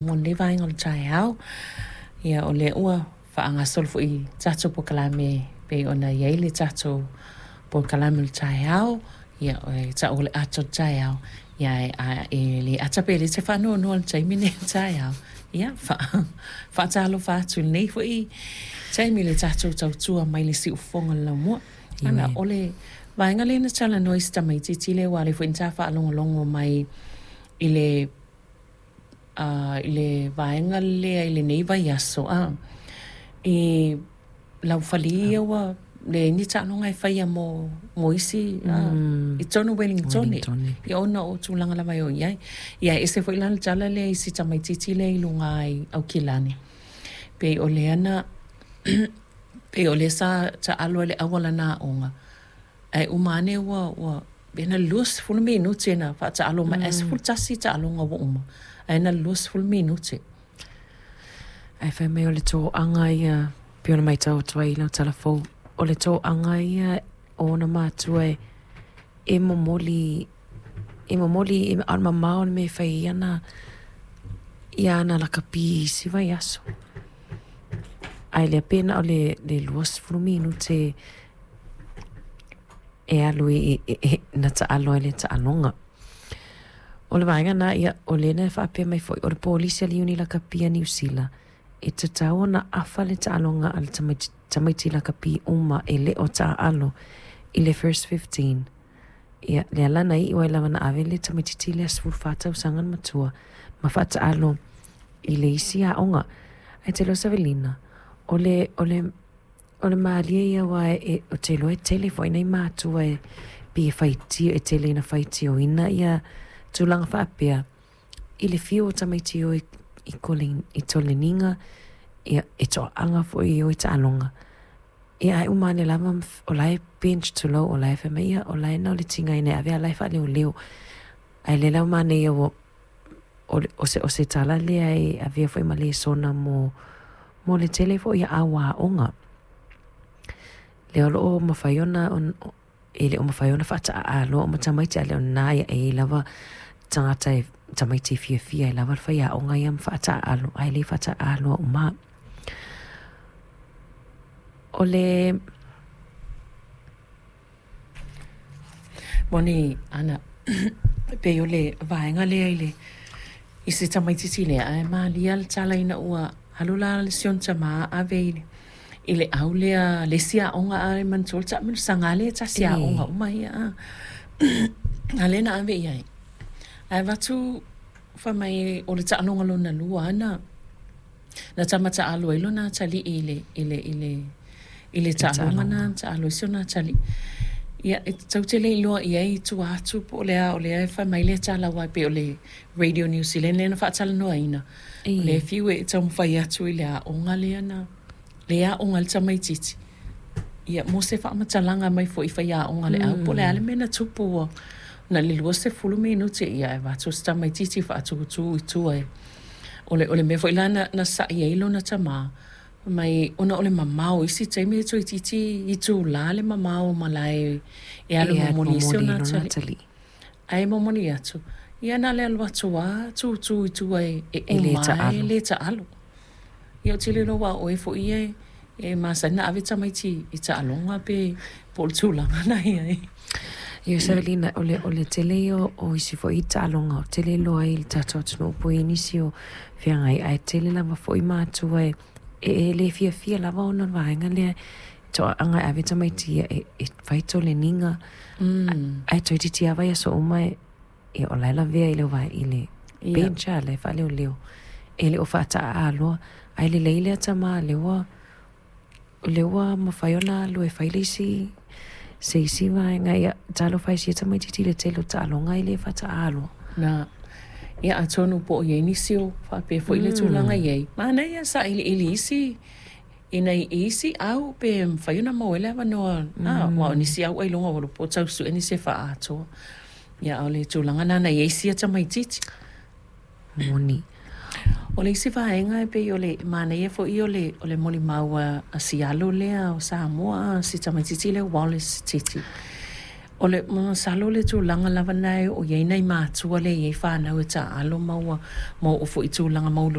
Mo lenei vaega o le taeao, ia o lea ua faagasolo foi tatou polokalame pei ona i ai le tatou polokalame o le taeao, ia e ta'u o le ata o le taeao, ia ae e le ata pe le te faanoanoa i le taimi lenei o le taeao. Ia faatalofa atu i lenei foi taimi i le tatou tautua mai le siufofoga o le laumua. Ana, o le vaega lea na talanoa i si tamaitiiti lea aua o lea foi na ta faalogologo mai i le i le vaega lea i lenei vaiaso, i laufali ia ua leai ni taaloga e faia mo, mo isi i totonu o Ueligitone, ia ona o tulaga lava e o i ai. Ia e ese foi la le tala lea i si tamaitiiti lea i luga i Aukilani, pei o lea na pei o lea sa taalo ai i le au a lana aoga, ae uma ane ua, ua pe na o le 20 minute na faataalo mai ae 11 taaloga ua uma, ae na o le 20 minute. Ae fai mai o le toaga ia, pei ona matau atu ai i lau tala fou, o le toaga ia o ona matua e, e momoli, e momoli, a o le mamao o le mea e fai ai ana, ia ana lakapi i isi vaiaso. Ae lea pe na o le, le 20 minute e alu i, na taalo ai le taaloga. O le vaega lena, ia, o lea na faapea mai foi, o le polisi a le Iuni Lakapi a Niu Sila, e tatau ona afa le taaloga a le tamaiti, tamaiti lakapi uma e le o taaalo i le first 15. Ia, lea la na iu ai lava na ave le tamaitiiti lea 14 tausaga le matua ma faataalo i le isi aoga. Ae te iloa Savelina, o le, o le O le malie ia aua e, ou te iloa e tele foi nai matua e pei e faitio, e tele ina faitioina ia tulaga faapea i le fiu o tamaiti e o i, i toleniga, ia, e toaaga foi e o i taaloga. Ia ae uma ane lava o la e bench tulou, o la e fai mai, ia o la e na o le tigaina e ave a o la e faaleoleo. Ae lea la ua manaia ua o se, o se tala lea e avea foi ma lesona mo, mo le tele foi o au aoga. Lea o lo o mafai ona, e le o mafai ona faataaloa uma tamaiti, a le o lena e i ai lava tagata e, tamaiti e fiafia ai lava le faiaoga ia ma faataaalo, ae le faataaaloa uma. O le. Moni ana, pei o le vaega lea i le i se tamaitiiti lea, ae malia le tala ina ua alu la si ona tama ave i le i le au lea le isi aoga a e manatua le taamilosaga lea e tasi aoga uma ia a. A lea na ave i ai. Ae avatu fai mai o le taaloga lona lua ana Na tama taalo ai lona atalii i le, i le, i le, i le taaloga na na taalo ai si ona atalii. Ia, e tou te le iloa i ai i tua atu po o le a, o lea e fai mai le tala aua e pei o le Radio New Zealand lea na faatalanoaina, o lea e fiu e taumafai atu i le aoga lea na, lea e aoga ai le tamaitiiti, ia, mo se faamatalaga mai foi i faiaoga a le au, po o le a le mea na tupu ua na o le 20 minute, ia ae avatu si tamaitiiti faatutū i tua e O le, o le mea foi la na, na sa'i ai lona tamā, fai mai, ona o le mamao, isi taimi e toeitiiti itulā le mamao o malae e alu e momoli ai si ona atalii. Ae momoli atu, ia na o le alu atu lava tūtū i tua e, e uma ai e le taalo. Ia ou te le iloa aua o oe foi ia e masani ona ave tamaiti i taaloga pe po o le tulaga na i ai. Ia Savelina, o le, o le tele ia o isi foi taaloga o tele loa ai i le tatou atunuu po o i ai nisi o feagai, ae tele lava foi matua e, e le fiafia lava ona o le vaega lea toaaga e ave tamaiti ia e, e fai toleniga, ae toeitiiti lava vaiaso uma e, ia o la e lavea i le vae i le bench a la e faaleoleo e le o faataaloa ae lelei lea tama lea ua lea ua mafai ona alu e fai le isi se isi vaega ia talofa e sia tamaititi i le tele o taaloga e le faataaloa. Na, ia atonu po o i ai nisi o faapea foi le tulaga i ai, manaia sailiili isi Ina i isi au pe mafai ona maua ai le avanoa, aua o nisi au ailoga ua iloa po o tau sue nisi e faaatoa. Ia, a o le tulaga lena na i ai sia tamaitiiti. Moni. O le isi vaega e pei o le manaia foi o le, o le molimau a si alo lea o Samoa, si tamaitiiti lea o Wallace Titi. O le masalo le tulaga lava na e o i ai nai matua lea e i ai fanau e taaalo ma ua ma oo foi i tulaga.